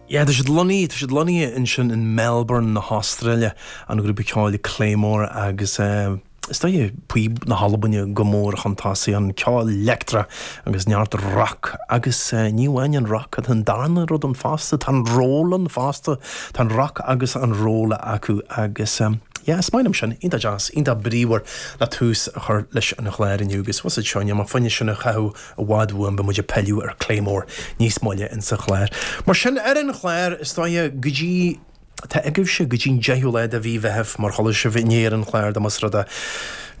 Yeah, tá siad lonnaithe, tá siad lonnaithe ansin in Melbourne na hAstráile, an grúpa ceoil Claymore agus eh, is dóigh píob na hAlbaine go mór chun tosaigh, an ceol leictreach agus neart rock agus eh, ní amháin an rock, tá an darna rud ann fosta, tá an ról ann fosta, tá an rock agus an ról acu agus eh, yeah, is maith liom sin, iontach deas, iontach bríomhar le tús a chur leis an chlár inniu agus bhfuil a fhios agat seo, níl mé fá choinne sin a chaitheamh i bhfad uaim, beidh muid ag pilleadh ar Claymore níos moille insa chlár. Mar sin, ar an chlár, is dóiche, go dtí, tá agaibhse go dtí'n 10ú lá de mhí Mheithimh, mar chuala sibh inné ar an chlár, dá más rud é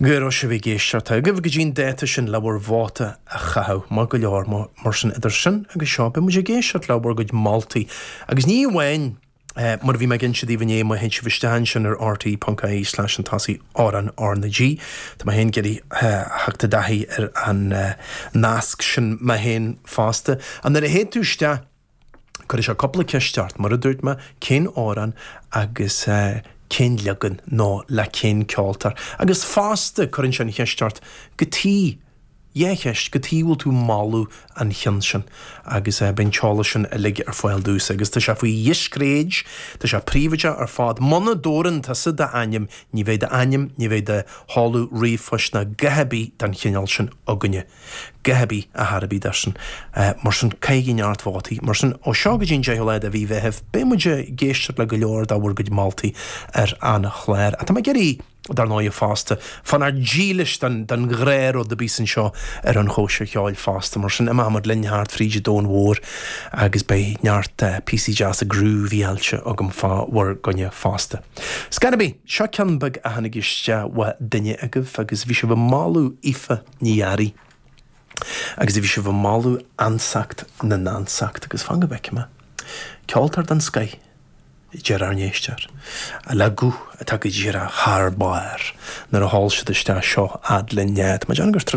go raibh sibh ag éisteacht, tá agaibh go dtí'n dáta sin le bhur vóta a chaitheamh, maith go leor, mar sin, idir sin agus seo, beidh muid ag éisteacht le bhur gcuid moltaí, agus ní amháin. Mar a bhí mé ag inse daoibh inné, má théann sibh isteach ansin ar rte.ie slash an tosaigh amhrán R na G, tá mé féin ag iarraidh theacht i dtaithí ar an nasc sin mé féin fosta. Ach nuair a théann tú isteach, cuirfidh sé cúpla ceist ort, mar a dúirt mé, cén amhrán agus cén leagan nó le cén ceoltóir. Agus fosta cuireann sé an cheist ort, cad chuige Dhá cheist, cad chuige a bhfuil tú moladh an chinn sin agus beidh an t-eolas sin uilig ar fáil duitse agus tá sé faoi dhiscréid, tá sé príobháideach ar fad. Muna dtabharann tusa d'ainm, ní bheidh d'ainm, ní bheidh do sheoladh ríomhphoist ná a dhath ar bith den chineál sin againne. A dhath ar bith ar chor ar bith de sin. Mar sin, caithigí neart vótaí. Mar sin, ó seo go dtí an 10ú lá de mhí Mheithimh, beidh muid ag éisteacht le go leor de bhur gcuid moltaí ar an chlár. Ach tá mé ag iarraidh. dar ndóighe fosta, fanacht dílis don ghnáthrud a bíos anseo ar an Chóisir Cheoil fosta. Mar sin, imeoidh muid linn thart fríd an domhan mhór agus beidh neart píosaí deasa groovy-áilte agam fá bhur gcoinne fosta. Scor ar bith, seo ceann beag a tháinig isteach ó duine agaibh agus bhí sibh ag moladh Aoife Ní Fhearraigh agus bhí sibh ag moladh Ansacht na nAnsacht agus fan go bhfeicfidh mé. Ceoltóir den scoith. deir ár n-éisteoir, le guth atá go díreach thar barr nuair a sheol siad isteach seo fhad linn. Tá mé ag déanamh gur tráthnóna.